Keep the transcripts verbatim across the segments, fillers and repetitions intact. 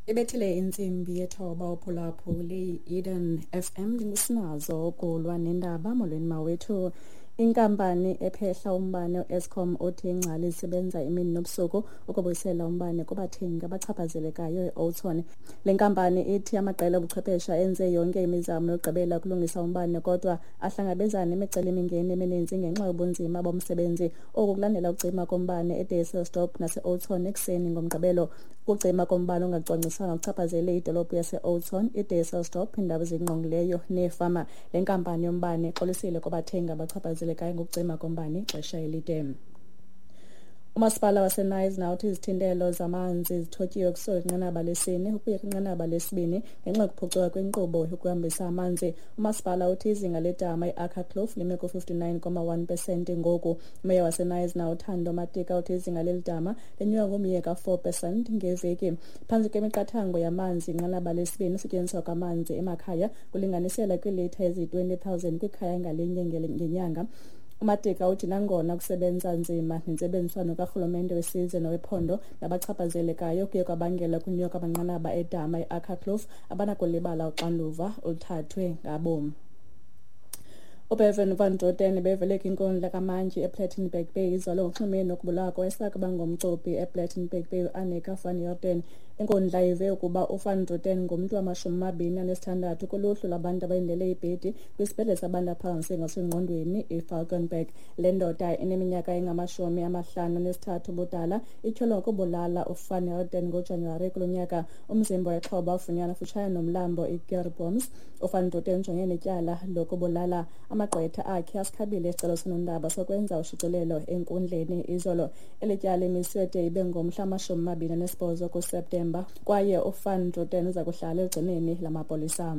Ibethile intsimbi yethoba uphulaphuli Eden F M. Ndingusinazo ukulwa nendaba. Molweni mawethu. Inkampani ephehla umbane u-Eskom uthi ingcali zisebenza imini nobusuku ukubuyisela umbane kubathengi abachaphazelekayo e-Oudtshoorn. Le nkampani ithi amaqela obuchwephesha enze yonke imizamo yokugqibela ukulungisa umbane, kodwa ahlangabezana nemicelimingeni emininzi ngenxa yobunzima bomsebenzi. Oku kulandela ukucima kombane eDysselsdorp nase-Oudtshoorn ekuseni ngoMgqibelo. Ukucima kombane ongacwangciswanga kuchaphazele idolophu yase-Oudtshoorn, iDysselsdorp, iindawo ezingqongileyo neefama. Le nkampani yombane ixolisile kubathengi abachaphazelekayo ngokucima kombane ixesha elide. Umasipala waseKnysna uthi izithintelo zamanzi zithotyiwe kusuka kwinqanaba lesine ukuya kwinqanaba lesibini ngenxa yokuphucuka kwenkqubo yokuhambisa amanzi. Umasipala uthi izinga ledama iAkkerkloof lime ku-fifty-nine point one pesenti ngoku. Umeya waseKnysna uThando Matika uthi izinga leli dama lenyuka ngomyinge ka-four percent ngeveki. Phantsi kwemiqathango yamanzi inqanaba lesibini, usetyenziswa kwamanzi emakhaya kulinganiselwa kwiilitha eziyi-twenty thousand kwikhaya ngalinye ngenyanga. UMatika uthi nangona kusebenza nzima nentsebenziswano karhulumente wesizwe nowephondo nabachaphazelekayo kuye kwabangela ukunyuka kwamanqanaba edama iAkkerkloof, abanakulibala uxanduva oluthathwe ngabom. UBevan van Druten bevele kwinkundla kamantyi ePlettenberg Bay izolo ngokunxulumene nokubulawa kowayesakuba ngumcuphi ePlettenberg Bay uAnnika van Heerden. Inkundla ive ukuba uVan Druten ngumntu wamashumi amabini anesithandathu kuluhlu lwabantu abalindele ibhedi kwisibhedlele sabantu abaphazamiseke ngokwasemngqondweni iValkenberg. Le ndoda ineminyaka engamashumi amahlanu anesithathu ubudala ityholwa ngokubulala uVan Heerden ngoJanuwari kulo nyaka. Umzimba wexhoba wafunyanwa kufutshane nomlambo iKeurboom. UVan Druten ujongene netyala lokubulala. Amagqwetha akhe asikhabile isicelo sonondaba sokwenza ushicilelo enkundleni izolo. Eli tyala imiswe de ibe ngomhla wamashumi amabini anesibhozo kuSeptemba, kwaye uVan Druten uza kuhlala elugcinweni lamapolisa.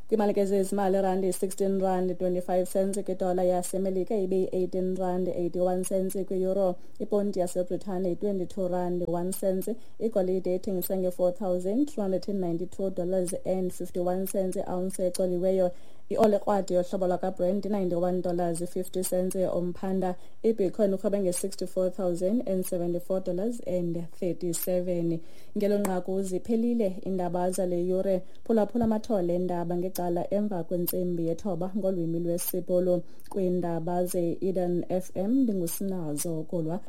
Kwimali ke zezimali, irandi yi-sixteen rand twenty-five cents kwidola yaseMelika, ibe yi-eighteen rand eighty-one cents kwi-euro. Iponti yaseBritane yi-twenty-two rand one cents. Igolide ithengiswa nge-four thousand two hundred and ninety-two dollars and fifty-one cents i-ounce ecoliweyo. Ioli ekrwada yohlobo lwakwaBrent i-ninety-one dollars fifty cents umphanda. IBitcoin irhwebe nge-sixty-four thousand and seventy-four dollars and thirty-seven. Ngelo nqaku ziphelile iindaba zale yure. Phulaphula amathole eendaba ngecala emva kwentsimbi yethoba ngolwimi lwesiBhulu. Kwiindaba ze-Eden F M, ndingusinazo Kolwa.